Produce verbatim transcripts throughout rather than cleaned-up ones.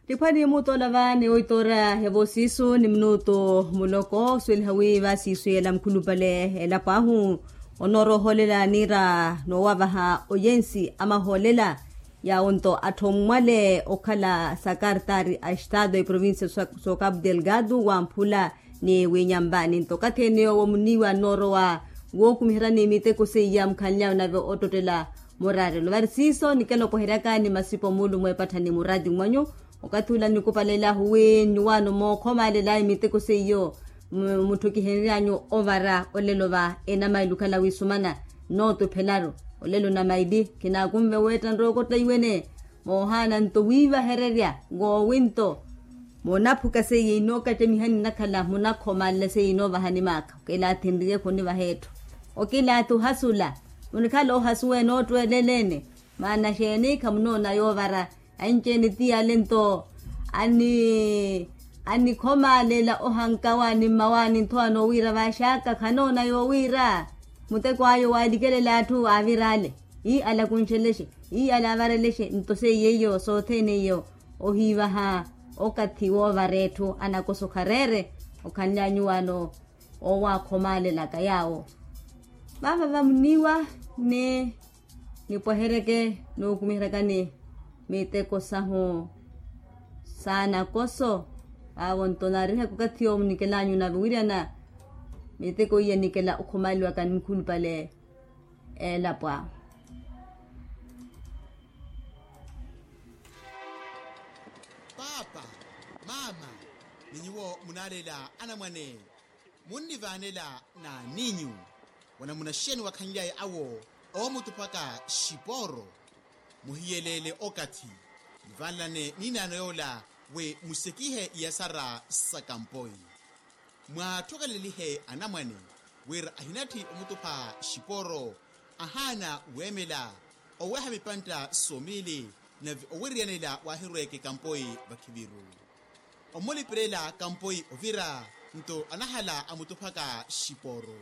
Tiphwani mutola va ni oitoora evo siisu ni minutu muloko osuweliha wi va siisu yela mukhulupale elapo ahu, onoorohoolela niira noowavaha oyensi amahoolela. Yawo nto atthu ommwale okhala sakartari a estado eprovincia so cabo delgado wamphula ni winyambaani nto okathi ene yoowo muniiwa noorowa wookumiheryani miteko seiya mukhanlyawe nave ottottela muraarelo vari siiso nikela opweheryaka ni masipo muulu mweepattha ni muraati mwanyu. Okathi ula nikupalela ahu wi nnuwaano mookhomaalelaye miteko seiyo mutthukihenryanyu ovara olelo va enamailu okhala wisumana nootuphelaru. Olelo namaili khinaakunve weetta nrooko ttaiwene moohaana nto wiivahererya woowinto. Munaphuka seiye inookatemihani nnakhala munakhomaalela seiye inoovahani maakha okilaathi nriye khunivaha etthu. Okilaathi ohasula munikhala ohasuwa enoottweeleleene. Maana xeeni khamunoona yoovara? Anci-ene ti yale nto annikhomaalela ohankawaani mmawaani nthowa noowiira vaaxaka khanoona yoowiira. Muteko ayo waalikelela atthu aaviraale ii alakunxelexe ii alaavarelexe nto seiye iyo sothene iyo ohiivaha okathi woovara etthu anakoso khareere. Okhanly'anyu waano oowaakhomaalelaka yaawo vaava vamuniiwa ni nipweheryeke nookumiheryakani miteko sahu saanakoso. Vaavo nto naarihaka okathi yoowo munikel'anyu nave wiryana miteko iya nikela okhomaaliwaka ni mukhulupale eelapo ahu. Paapa, maama, ni nyuwo munaalela anamwane munnivaanela n'aninyu? Wanamuna xeeni wakhanlyaye awo oomutuphaka xipooro? Muhiyeleele okathi muvaanelane n'inaano yoola wi musekihe iyasara sa kampoi. Mwaathokelelihe anamwane wira ahinatthi omutupha xipooro ahaana weemela oweha mipantta somiili nave owiriyanela waahirweeke kampoi vakhiviru. Omulipirela kampoi ovira nto anahala amutuphaka xipooro.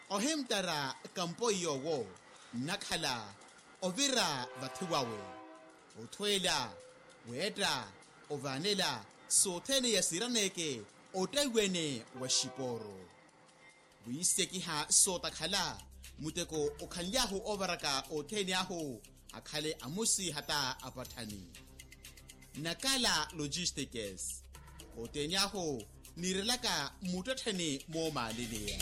Ohimttara kampoi yoowo nnakhala ovira vathi wawe othweela weetta ovaanela sothene iya siiraneke ottaiwene wa xipooro. Wiisekiha sootakhala muteko okhanly'ahu oovaraka othene ahu akhale amusi hata apatthani. Nakala logistikes othene ahu niirelaka muttettheni moomaaleleya.